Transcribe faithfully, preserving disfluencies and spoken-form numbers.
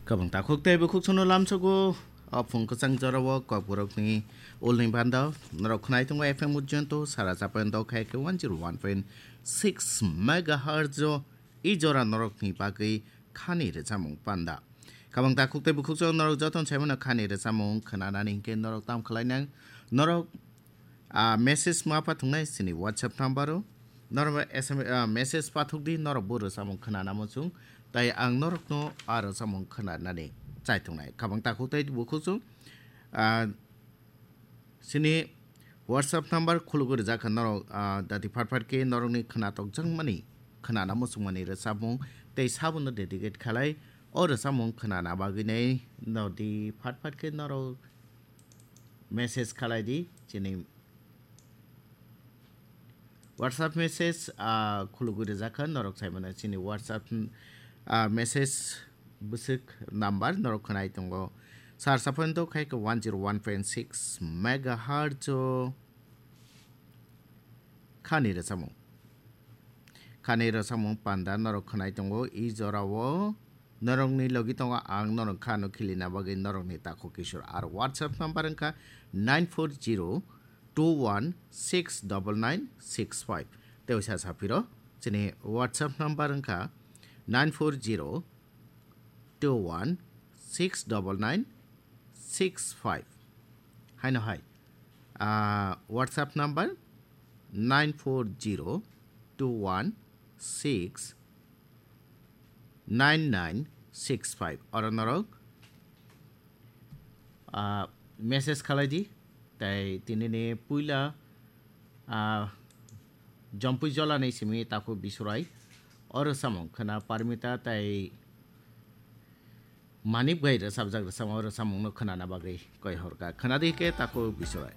Kabang takhuk tei bukhuk sono lamsogo, o phung kwchang jorao kokborokni ulni banda norok khnai tongo F M Ujjayanto sara chapendo khai khe one zero one point six megahertz o i jora norokni bagwi khani rwchapmung panda. Kabang takhuk tei bukhuk sono norok jotono saimano khani rwchapmung khnanani hinkhe norok tam khlainang, norok ah, message ma pathungnai chini WhatsApp number o. Norok S M S, ah, message pathuk di, norok bo rwchapmung khwnana muchung. Tai ang norokno a rwchapmung khwnanani chaitungnai. Kabang takhuk tei bukhuk chung, ah, chini WhatsApp number khulugwi rijak kha norok, ah, dati phat phat khe norokni khwnatokjakmani khwnana muchungmani rwchapmung tei sabono dedicate khalai. O rwchapmung khwnana bagwi nai nodi phat phat khe norok message khalai di chini WhatsApp message, ah, khulugwi rijak kha norok saimano chini WhatsApp, ah, message bwswk number norok khnai tongo. Sar saphano khai khe one zero one point six megahertz o khani rwchapmung. Khani rwchapmung panda norok khnai tongo, i jorao norokni logi tongo ang norok khano khilina bagwi norokni takhuk kisor. Ar WhatsApp number wngkha nine four zero two one six double nine six five. Tei usa saphiro chini WhatsApp number wngkha nine four zero two one six double nine six five. Haino hai, ah, WhatsApp number nine four zero two one six nine nine six five. Oro norok, ah, message khalai di. Tai tinini puila, ah, Jompui Jolani simi takhuk Bisurai. Oro samung khna Parmita tai Manik bai rwchapjak rwchapmung, o rwchapmungno khnana bagwi koi horkha. Khna di khe takhuk Bisurai.